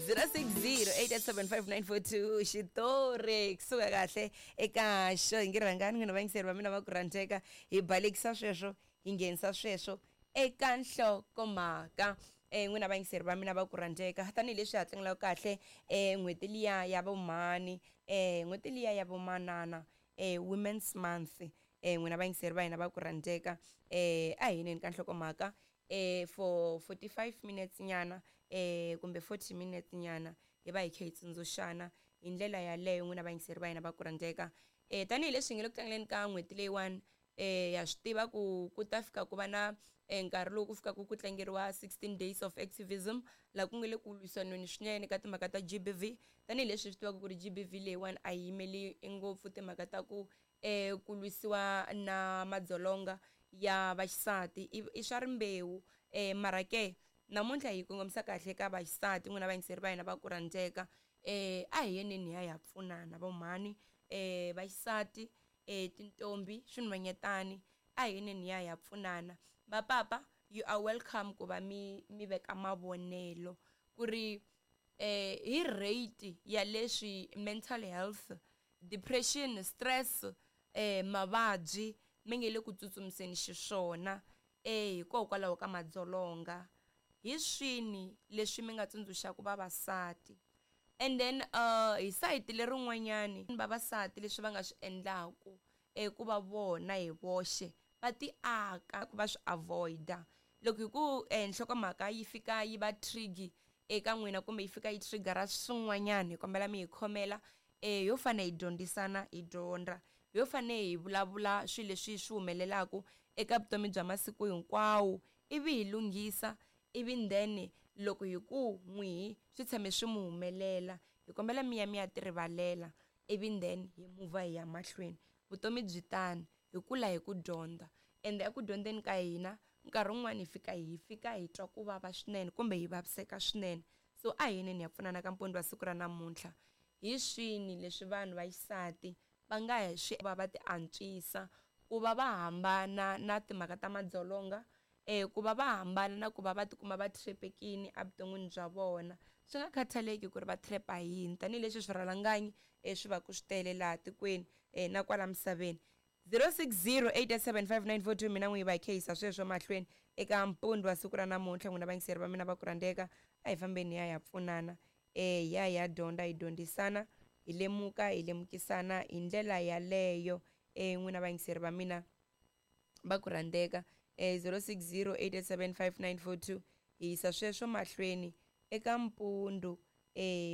0608875942 xitori kusuka kahle eka xo hi nge rhangani n'wina vayingiseri va mina va ku rhandzeka hi balekisa sweswo hi nghenisa sweswo eka nhlokomhaka. N'wina vayingiseri va mina va ku rhandzeka, tanihileswi ha tlangelaka kahle n'hweti liya ya vomhani, n'hweti liya ya vomanana, Women's Month, n'wina vayingiseri va hina va ku rhandzeka, a hi yineni ka nhlokomhaka for 45 minutes nyana kumbe 40 minutes nyana, hi va hi kha hi tsundzuxana hi ndlela yaleyo. N'wina vayingiseri va hina va ku rhandzeka, tanihileswi hi nge le ku tlangeleni ka n'hweti leyiwani, ya swi tiva ku ku ta fika ku va na nkarhi lowu ku fikaka ku tlangeriwa 16 Days of Activism, laha ku nga le ku lwisaneni swinene ka timhaka ta GBV, tanihileswi swi tivaka ku ri GBV leyiwani a yi yimeli ngopfu timhaka ta ku ku lwisiwa na madzolonga ya vaxisati, i swa rimbewu, mara ke namuntlha hi kongomisa kahle ka vaxisati. N'wina vayingiseri va hina va ku rhandzeka, a hi yeneni hi ya hi ya pfunana vomhani, vaxisati, tintombi, swinhwanyetani, a hi yeneni hi ya hi ya pfunana. Vapapa, you are welcome ku va mi veka mavonelo ku ri hi rate ya leswi mental health, depression, stress, mavabyi mi nge le ku tsutsumiseni xiswona hikokwalaho ka madzolonga, hi swini leswi mi nga tsundzuxaka vavasati. And then hi sayiti lerin'wanyani, vavasati leswi va nga swi endlaku ku va vona hi voxe va ti aka ku va swi avoida loko hi ku nhlokomhaka yi fika yi va trigger eka n'wina kumbe yi fika yi triggera swin'wanyana, hi kombela mi hi khomela. Yo fane hi dyondzisana, hi dyondza, yo fane hi vulavula swilo leswi swi humelelaka eka vutomi bya masiku hinkwawo, ivi hi lunghisa, ivi then loko hi ku n'wihi swi tshame swi mu humelela, hi kombela mi ya mi ya ti rivalela, ivi then hi muvha hi ya mahlweni. Vutomi byi tani, hi kula hi ku dyondza, ende eku dyondzeni ka hina nkarhi wun'wani hi fika hi twa ku vava swinene kumbe hi vaviseka swinene. So a hi yeneni hi ya pfunana ka mpondo wa siku ra namuntlha. Hi swini leswi vanhu va xisati va nga swi va ti antswisa ku va va hambana na timhaka ta madzolonga, ku va va hambana na ku va va tikuma va trapekini evuton'wini bya vona, swi nga khathaleki ku ri va trap-a hi yini, tanihileswi swirhalanganyi swi va ku swi tele laha tikweni na kwala misaveni? 0608875942. Mina n'wi va hi khehisa sweswo mahlweni eka mpundu wa siku ra namuntlha. N'wina vayingiseri va mina va ku rhandzeka, a hi fambeni hi ya hi ya pfunana, hi ya hi ya dyondza, hi dyondzisana, hi lemuka, hi lemukisana hi ndlela yaleyo. N'wina vayingiseri va mina va ku rhandzeka, 0608875942, hi yisa sweswo mahlweni eka mpundu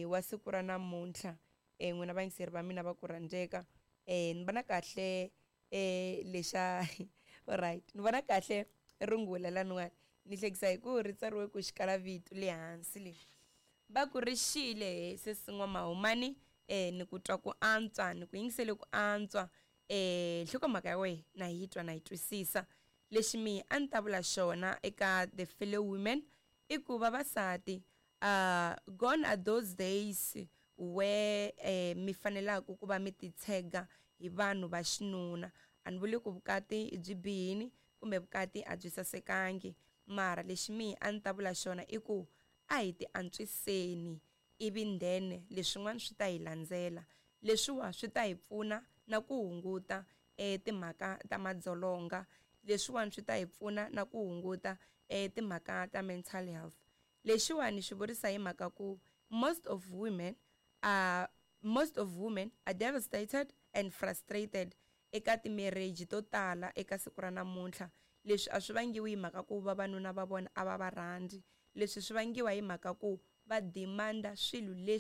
wa siku ra namuntlha. N'wina vayingiseri va mina va ku rhandzeka, ni vona kahle lexa, alright, ni vona kahle rungula laniwani, ni hlekisa hi ku ri tsariwe ku xikala vito le hansi le, va ku ri xile sesi N'wamahumani. Ni ku twa ku antswa, ni ku yingisele ku antswa. Nhlokomhaka ya wena na yi twa, na yi twisisa. Lexi mi a ni ta vula xona eka the fellow women i ku vavasati, gone are those days where mi fanelaka ku va mi titshega hi vanhu va xinuna. A ni vuli ku vukati byi bihini kumbe vukati a byi sasekangi, mara lexi mi a ni ta vula xona i ku a hi ti antswiseni, ivi then leswin'wana swi ta hi landzela. Leswiwa swi ta hi pfuna na ku hunguta timhaka ta madzolonga, leswiwani swi ta hi pfuna na ku hunguta timhaka ta mental health. Lexiwani xi vurisa hi mhaka ku most of women are devastated and frustrated eka ti-marriage to tala eka siku ra namuntlha. Leswi a swi vangiwi hi mhaka ku vavanuna va vona a va va rhandzi, leswi swi vangiwa hi mhaka ku va demand-a swilo leswi.